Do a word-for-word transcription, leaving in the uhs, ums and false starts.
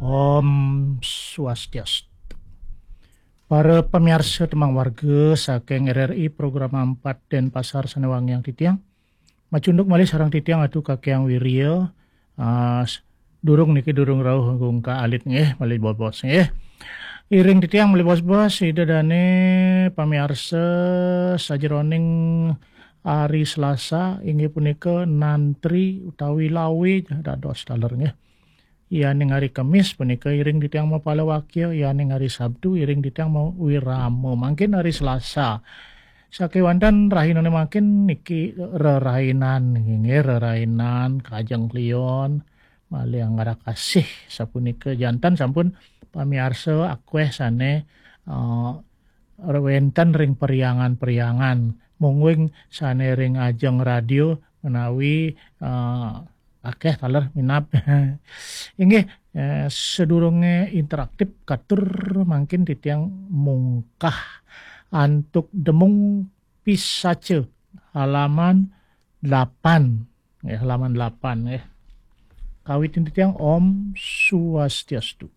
Om Swastiastu. Para pamiarsa tembang warga saking R R I Programa empat Denpasar sane wangiang titiang. Macunduk malih sareng titiang Atu Kakyang Wirya. Ah, s-, durung niki durung rauh ngungkak alit nggih, malih bos-bos nggih. Iring titiang malih bos-bos, Ida dane pamiarsa sajeroning hari Selasa inggih punika nantri utawi lawe dados taler nggih. Yaning hari Kemis punika iring titiang mapalawakya, yaning hari Sabtu iring titiang mawirama. Mangkin hari Selasa. Sakewanten rahinane mangkin niki rerainan, nggih, rerainan, kajeng klion, malih anggarakasih sapunika jantan sampun pamiarsa akweh sane, eh, wenten ring periangan-periangan, mungguing sane ring ajeng radio menawi, eh, akeh taler minab. Inggih, eh, sedurunge interaktif katur mangkin titiang mungkah antuk Demung Pisaca halaman delapan. Ya, halaman delapan ya. Kawitin titiang Om Swastiastu.